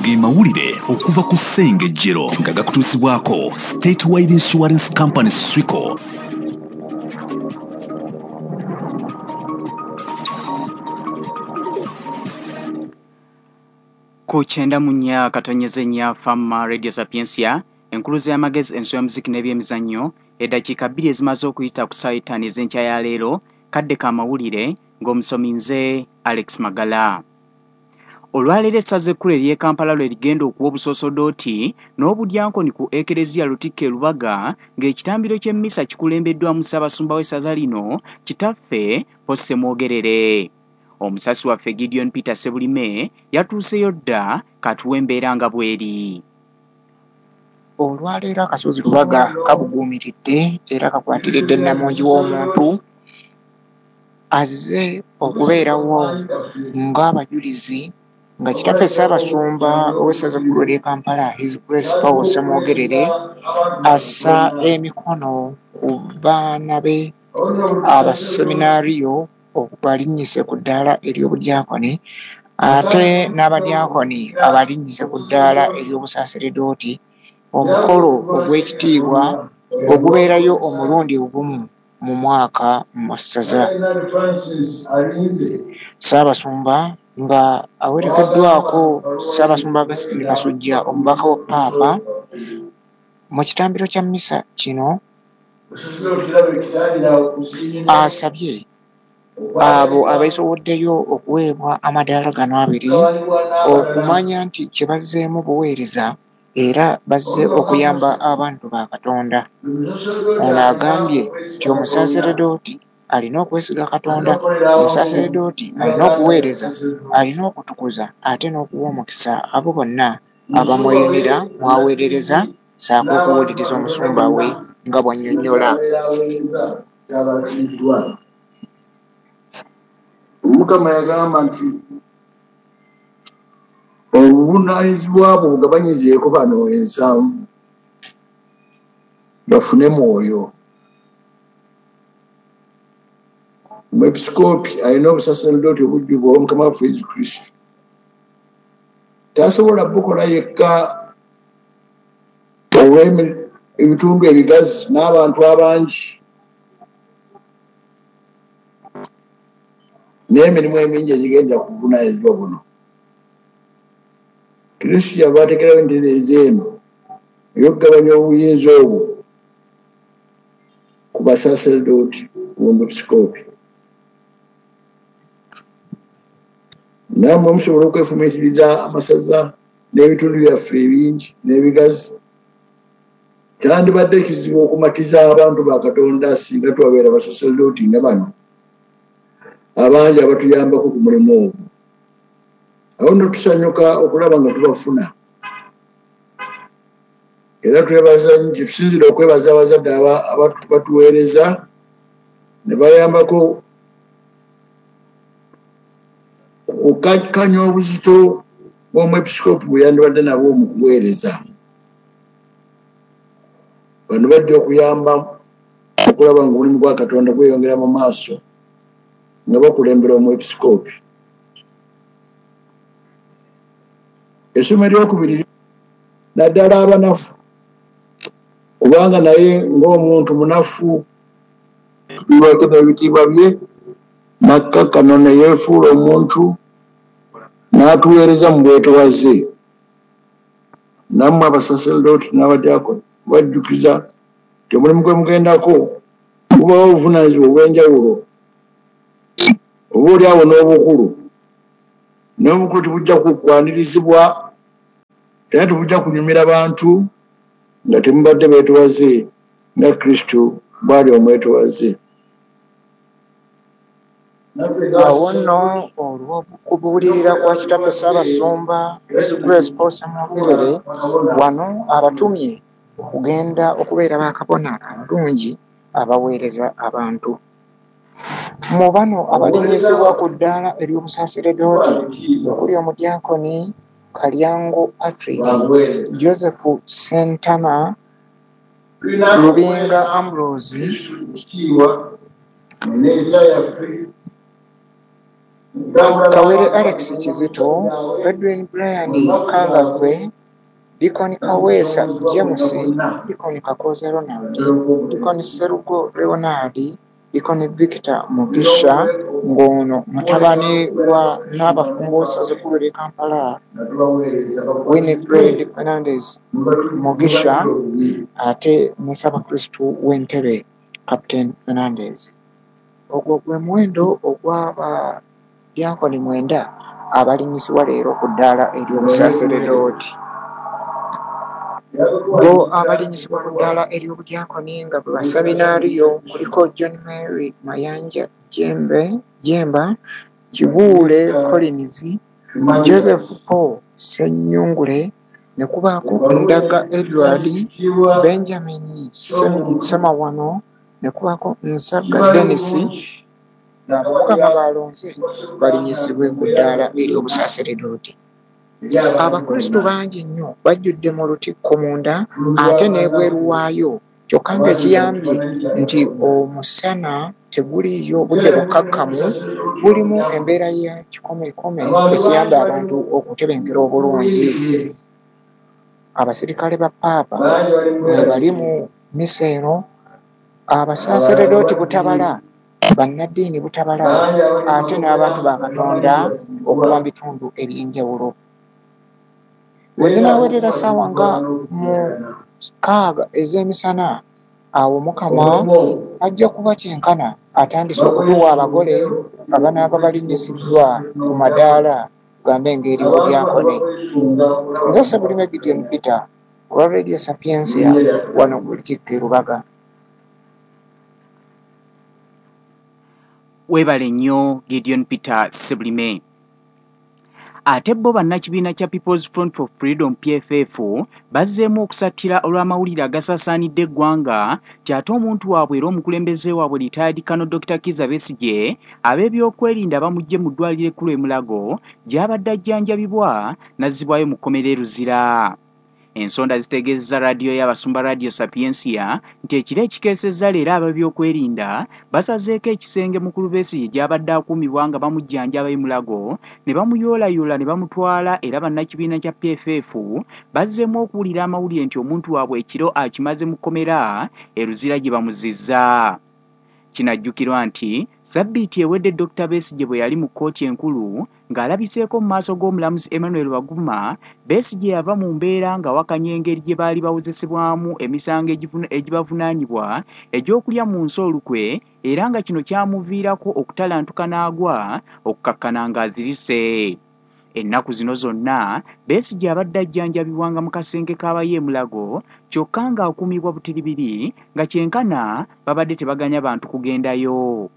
Ge mawulire okuva ku Ssengejjero nga gakutuusibwako Statewide Insurance Company Swico. Ku 94.4 Fama Radio Sapientia, enkuluze y'amagezi, enso y'omuziki n'ebyemizannyo. Eddakiika 2 ezimaze okuyita ku ssaawa 5 ez'enkya ya leero, kadde ka mawulire ng'omusomi nze Alex Magala. Olwaleero essaza ekkulu ery'e Kampala lwe ligenda okuwa obusosodooti n'obudyankoni ku Ekereziya Lutikko e Lubaga, ng'ekitambiro ky'emmisa kikulembeddwamu Ssaabasumba w'essaza lino, Kitaffe Paul Ssemwogerere. Omusasi waffe Gideon Peter Ssebulime yatuuseyo dda, katuwa embeera nga bw'eri. Olwaleero akasozi Lubaga kabuguumiridde era kakwatiridde nnamungi w'omuntu azze okubeerawo ng'abajulizi nga Kitaffe Ssaabasumba ow'essaza ekkulu ery'e Kampala, His Grace Paul Ssemwogerere, assa emikono ku baana be abaseminaariyo balinnyise ku ddaala ery'obudyankoni, ate n'abadyankoni abalinnyise ku ddaala ery'obusaaseredooti, omukolo ogw'ekitiibwa ogubeerayo omulundi ogumu mu mwaka mu ssaza. Ssaabasumba nga awerekeddwako Ssaabasumba Augustine Kasujja, omubaka wa Ppaapa, mu kitambiro kya mmisa kino asabye abo abeesoboddeyo okuweebwa amadaala gano abiri okumanya nti kye bazzeemu buweereza era bazze okuyamba abantu ba Katonda. Ono agambye nti omusaaseredooti alina okwesiga Katonda, omusaaseredooti alina okuweereza, alina okutukuza ate n'okuwa omukisa abo bonna abamweyunira mw'aweerereza, ssaako okuwuliriza omusumba we nga bw'annyonnyola. Omukama yagamba nti obuvunaanyizibwa bwo bugabanyizeeko bano 7 bafune mwoyo. Omwepisikoopi alina obusaseredooti obujjuvu obwa Mukama waffe Yesu Kristo. Tasobola bukola yekka olw'ebitundu ebigazi n'abantu abangi n'emirimu emingi egigenda ku buvunaanyizibwa buno. Kristo yava ateekerawo entereeza eno ey'okugabanya obuyinza obwo ku basaseredooti b'omwepisikoopi. Nammwe musobola okwefumiitiriza amasaza n'ebitundu byaffe ebingi n'ebigazi. Kyandibadde kizibu okumatiza abantu ba Katonda singa twabeera basaseredooti nga bano abangi abatuyambako ku mulimu ogwo. Awo nno tusanyuka okulaba nga tubafuna. Era twebaza nnyo, tusinziira okwebaza abazadde abatuweereza ne bayambako okukakkanya obuzito bw'omwepisikoopi bwe yandibadde nabwo mu kuweereza. Bano bajja okuyamba okulaba ng'omulimu gwa Katonda gweyongera mu maaso nga bakulembera omwepisikoopi. Essomo eryokubiri naddala abanafu, kubanga naye ng'omuntu munafu lwako n'ebitiibwa bye n'akkakkano ne yeefuula omuntu n'atuweereza mu bwetowaze. Nammwe abasaseredooti n'abadyankoni bajjukiza nti omulimu gwe mugendako gubawo obuvunaanyizibwa obw'enjawulo, oba oli awo n'obukulu. N'obukulu tebujja kukwanirizibwa era tebujja kunyumira bantu nga temubadde beetowaze nga Kristo bw'ali omwetowaze. Awo nno olw'okubuulirira kwa Kitaffe Ssaabasumba His Grace Paul Ssemwogerere, wano abatumye okugenda okubeera bakabona abalungi abaweereza abantu. Mu bano abalinnyisibwa ku ddaala ery'obusaaseredooti okuli omudyankoni Kalyango Patrick, Joseph Ssentama, Lubinga Ambrose, Kawere Alex Kizito, Edwin Brian Kangavve, Deacon Kaweesa James, Deacon Kakooza Ronald, Deacon Sserugo Leonard, Deacon Victor Mugisha ng'ono mutabani wa Nnaabafumbo w'essaza ekkulu ery'e Kampala Winifred Fernandez Mugisha ate ne Ssaabakristu w'e Ntebe Captain Fernandez. Ogwo gwe muwendo ogw'abadyankoni 9 abalinnyisibwa leero ku ddaala ery'obusaaseredooti. Bo abalinnyisibwa ku ddaala ery'obudyankoni nga bwe baseminaariyo kuliko John Mary Mayanja Jemba, Kibuule Collins, Joseph Paul Ssennyungule, ne kubaako Ndaga Edward, Benjamin Ssemawano, ne kubaako Nsagga Denis. Mukama baalonze balinnyisibwe ku ddaala ery'obusaaseredooti. Abakristu bangi nnyo bajjudde mu lutikko munda ate n'ebweru waayo, kyokka ng'ekiyambye nti omusana teguliiyo, budde bukkakkamu, bulimu embeera ya kikomekome ekiyamba abantu okutebenkera obulungi. Abasirikale ba Paapa mwe bali mu mmisa eno, abasaaseredooti butabala, bannaddiini butabala, ate n'abantu ba Katonda okuva mu bitundu eby'enjawulo. We zinaawerera ssaawa nga 6 ez'emisana, awo Mukama ajja kuba kyenkana atandise okutuwa abagole abanaaba balinnyisiddwa ku madaala tugambe ng'ery'obudyankoni. Nze Ssebulime Gideon Peter olwa Radio Sapientia wano ku Lutikko e Lubaga. Weebale nnyo Gideon Peter Ssebulime. Ate bo bannakibiina kya People's Front for Freedom PFF bazzeemu okusattira olw'amawulire agasaasaanidde eggwanga nti ate omuntu waabwe era omukulembeze waabwe retired Colonel Dr. Kizza Besigye ab'ebyokwerinda bamuggye mu ddwaliro ekkulu e Mulago gy'abadde ajjanjabibwa n'azzibwayo mu kkomera e Luzira. Ensonda zitegeezezza raadiyo y'abasumba Radio Sapientia nti ekiro ekikeesezza leero ab'ebyokwerinda basazeeko ekisenge mukulu Besigye gy'abadde akuumibwa nga bamujjanjaba e Mulago ne bamuyoolayoola ne bamutwala, era bannakibiina kya PFF bazzeemu okuwulira amawulire nti omuntu waabwe ekiro akimaze mu kkomera e Luzira gye bamuzizza. Kinajjukirwa nti sabbiiti ewedde Dr. Besigye bwe yali mu kkooti enkulu ng'alabiseeko mu maaso g'omulamuzi Emmanuel Baguma, Besigye yava mu mbeera ng'awakanya engeri gye baali bawozesebwamu emisango egibavunaanibwa egy'okulya mu nsi olukwe, era nga kino kyamuviirako okutalantuka n'agwa okukakkana ng'azirise. Ennaku zino zonna Besigye abadde ajjanjabibwanga mu kasenge k'abaye e Mulago, kyokka ng'akuumibwa butiribiri nga kyenkana babadde tebaganya bantu kugendayo.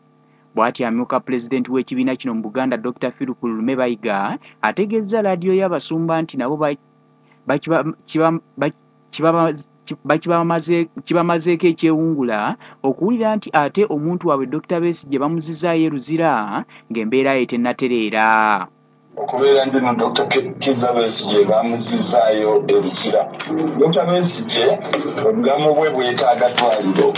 Bw'atyo amyuka pulezidenti w'ekibiina kino mu Buganda Dr. Philip Lume Bayiga ategeezza laadiyo y'abasumba nti nabo kibamazeeko ekyewungula okuwulira nti ate omuntu waabwe Dr. Besigye bamuzizzaayo e Luzira ng'embeera ye tennatereera. Okubeera ndino Dr. Kizza Besigye bamuzizzaayo e Luzira. Dr. Besigye obulamu bwe bwetaaga ddwaliro,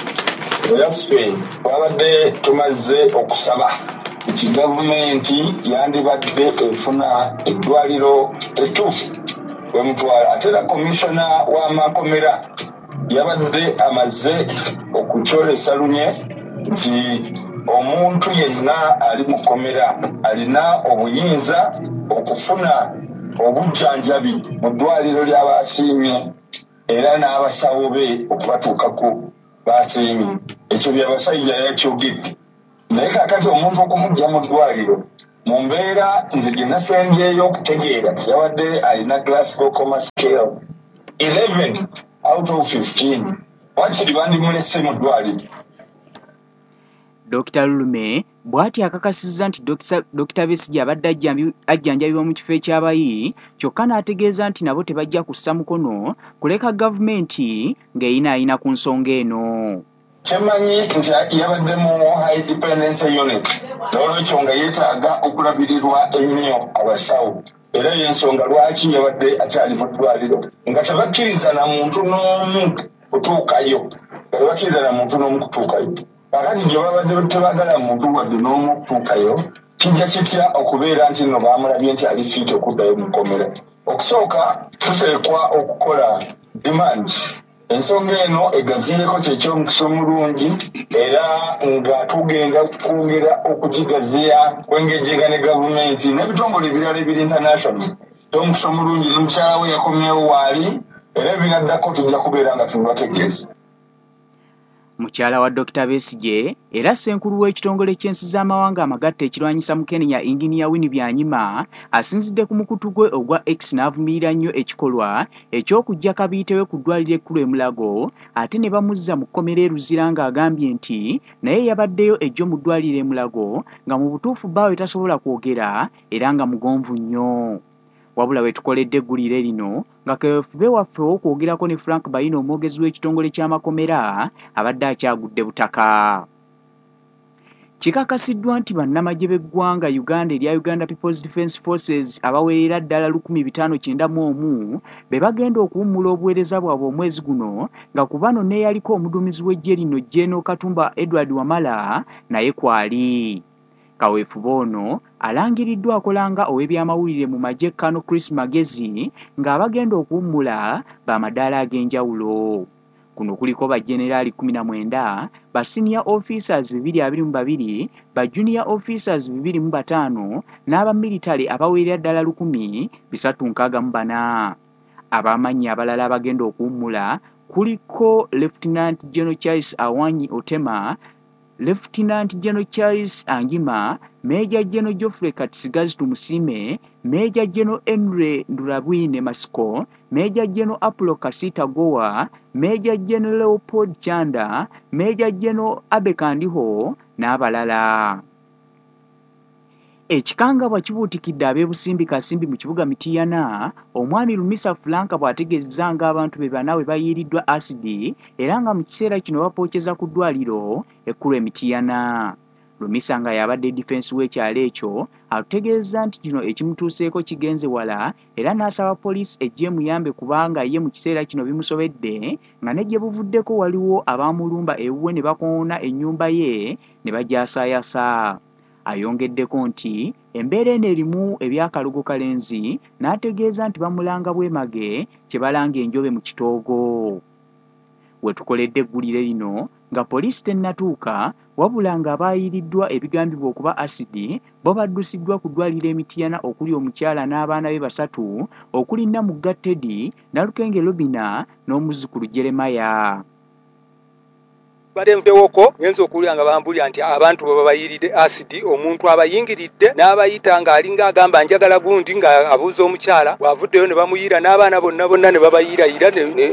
era ffe twabadde tumaze okusaba nti gavumenti yandibadde efuna eddwaliro ettuufu wemutwala. Ate era komishona w'amakomera yabadde amaze okukyolesa lunye nti omuntu yenna ali mu kkomera alina obuyinza okufuna obujjanjabi mu ddwaliro ly'abasiimye era n'abasawo be okubatuukako basiimye. Ekyo byabasajja yakyogedde. Naye kaakati omuntu okumuggya mu ddwaliro mu mbeera nze gye nasembyeyo okutegeera yabadde alina Glasgow Coma Scale 11 out of 15, wakiri bandimulese mu ddwaliro. Dr. Lulume bw'atyo akakasizza nti Dr. Besigye abadde ajjanjabibwa mu kifo ekyabayi, kyokka n'ategeeza nti nabo tebajja kussa mukono kuleka gavumenti ng'eyinaayina ku nsonga eno. Kyemmanyi nti yabadde mu high dependency unit, n'olwekyo nga yeetaaga okulabirirwa ennyo abasawo, era y'ensonga lwaki yabadde akyali mu ddwaliro nga tebakkiriza na muntu n'omu kutuukayo, nga tebakkiriza na muntu n'omu kutuukayo. Kakati gye babadde tebaagala muntu wadde n'omu kutuukayo, Kijja kitya okubeera nti nno baamulabye nti ali fiiti okuddayo mu kkomera? Okusooka tuteekwa okukola demand. Ensonga eno egaziyeeko kyekyomukisa omulungi era nga tugenda kwongera okugigaziya kwengejjega ne gavumenti n'ebitongole ebirala ebiri international. Omukisa omulungi ne mukyala we yakomyewo waali era ebinaddako tujja kubeera nga tubibategeeza. Mukyala wa Dokita Besigye era ssenkulu w'ekitongole ky'ensi z'amawanga amagatte ekirwanyisa Mukenenya Inginiya Winnie Byanyima asinzidde ku mukutu gwe ogwa X n'avumirira nnyo ekikolwa eky'okuggya kabiite we ku ddwaliro ekkulu e Mulago ate ne bamuzza mu kkomera e Luzira ng'agambye nti naye yabaddeyo ejjo mu ddwaliro e Mulago nga mu butuufu bbaawe tasobola kwogera era nga mugonvu nnyo. Wabula we tukoledde eggulire lino nga kaweefube waffe ow'okwogerako ne Frank Bayina omwogezi w'ekitongole ky'amakomera abadde akyagudde butaka. Kikakasiddwa nti bannamagye b'eggwanga Uganda erya Uganda People's Defence Forces abawerera ddala 1591 be bagenda okuwummula obuweereza bwabwe omwezi guno nga ku bano n'eyaliko omuduumizi w'eggye lino General Katumba Edward Wamala naye kwali. Kaweefube ono alangiriddwa akola nga ow'ebyamawulire mu magye Colonel Chris Magezi ng'abagenda okuwummula b'amadaala ag'enjawulo. Kuno kuliko ba Generali 19, ba Senior Officers 222, ba Junior Officers 205 n'aba military abawerera ddala 1364. Abamanyi abalala abagenda okuwummula kuliko Lieutenant General Charles Awanyi Otema, Lieutenant General Charles Angima, Major General Geoffrey Katsigazi Tumusiime, Major General Henry Ndurabwine Masiko, Major General Apollo Kasita Gowa, Major General Leopold Chanda, Major General Abe Kandiho n'abalala. Ekikangabwa kibuutikidde ab'e Busimbi Kasimbi mu kibuga Mityana, omwami Lumisa Frank bw'ategeezezza ng'abantu be bana bwe bayiiriddwa asidi era nga mu kiseera kino bapookeza ku ddwaliro ekkulu e Mityana. Lumisa nga y'abadde difensi w'ekyalo ekyo atutegeezezza nti kino ekimutuuseeko kigenze wala era n'asaba poliisi ejje emuyambe kubanga ye mu kiseera kino bimusobedde nga ne gye buvuddeko waliwo abaamulumba ewuwe ne bakoona ennyumba ye ne bagyasaayasa. Ayongeddeko nti embeera eno erimu ebyakalogo kalenzi n'ategeeza nti bamulanga bwemage kye balanga enjobe mu kitoogo. We tukoledde eggulire lino nga poliisi tennatuuka wabula ng'abaayiriddwa ebigambibwa okuba asidi bo baddusiddwa ku ddwaliro e Mityana okuli omukyala n'abaana be basatu okuli Namugga Teddy, Nalukenge Robina n'omuzzukulu Jeremiah. Badde nvudewoko ngenze okuwulira nga bambulira nti abantu bwe babayiiridde asidi, omuntu abayingiridde n'abayita ng'alinga agamba njagala gundi ng'abuuza omukyala, bw'avuddeyo ne bamuyiira n'abaana bonna bonna ne babayiirayira ne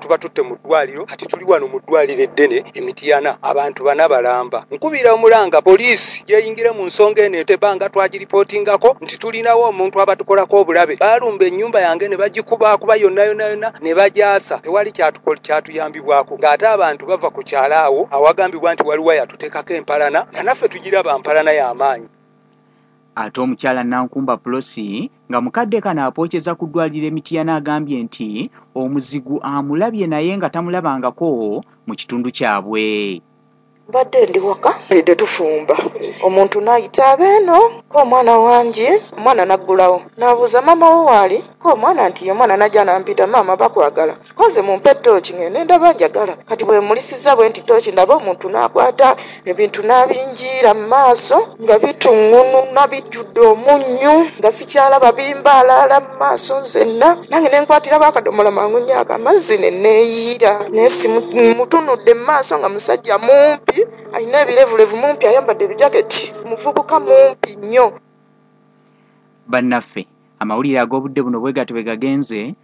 tuba tutte mu ddwaliro. Kati tuli wano mu ddwaliro eddene e Mityana, abantu bana balamba. Nkubira omulanga poliisi gyeyingire mu nsonga eno etebanga twagiripootingako nti tulinawo omuntu abatukolako obulabe. Baalumba ennyumba yange ne bagikubaakuba yonna yonna yonna ne bagyasa, tewali kyatuyambibwako ng'ate abantu bava ku kyalo awo awagambibwa nti waliwo yatuteekako empalana nga naffe tugiraba mpalana y'amaanyi. Ate omukyala Nankumba Plosi nga mukadde kano apookeza ku ddwaliro e Mityana agambye nti omuzigu amulabye naye nga tamulabangako mu kitundu kyabwe. Mbadde ndi waka lidde tufumba, omuntu n'ayita abeeno ko omwana wange, omwana n'aggulawo n'abuuza maama wo waali, ko omwana nti omwana n'ajja n'ampita maama bakwagala, ko nze mumpe ttooki ngende ndaba njagala. Kati bwe mulisiza bwe nti ttooki ndaba omuntu n'akwata ebintu n'abinjiira mu maaso nga bituŋŋununa bijjudde omunnyu nga sikyalaba bimbaalaala mu maaso nzenna, nange ne nkwatirako akadomola mangu nnyo akamazzi ne neeyiira. Naye simutunudde mu maaso nga musajja mumpi alina ebirevulevu mumpi ayambadde ebijaketi, muvubuka mumpi nnyo. Bannaffe amawulire ag'obudde buno bwe gatyo bwe gagenze.